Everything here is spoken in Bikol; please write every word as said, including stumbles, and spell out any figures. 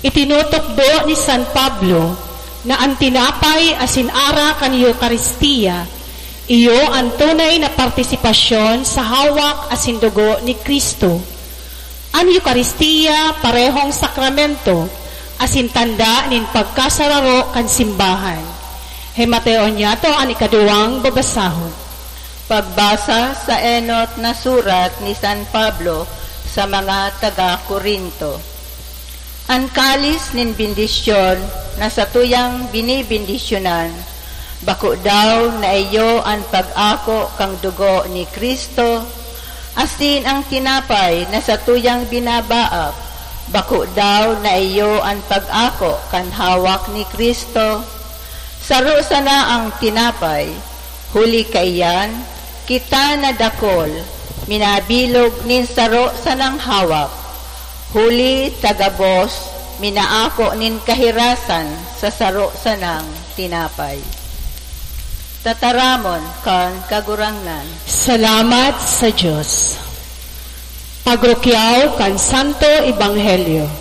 Itinutukdo ni San Pablo na an tinapay asin arak kan Eukaristia iyo an tunay na partisipasyon sa hawak asin dugo ni Cristo. An Eukaristia parehong sakramento asin tanda nin pagkasararo kan simbahan. Hemateon niyato an ikaduwang babasahon. Pagbasa sa enot na surat ni San Pablo sa mga taga-Corinto. An kalis nin bendisyon na satuyang binibendisyonan, bako daw na iyo an pag-ako kan dugo ni Cristo? Asin an tinapay na satuyang binabaak, bako daw na iyo an pag-ako kan hawak ni Cristo? Saro sana an tinapay, huli kaiyan, kita na dakul, minabilog nin saro sanang hawak, huli ta gabos minaako nin kahirasan sa saro sanang tinapay. Tataramon kan Kagurangnan. Salamat sa Dios. Pagrukyaw kan Santo Ebanghelyo.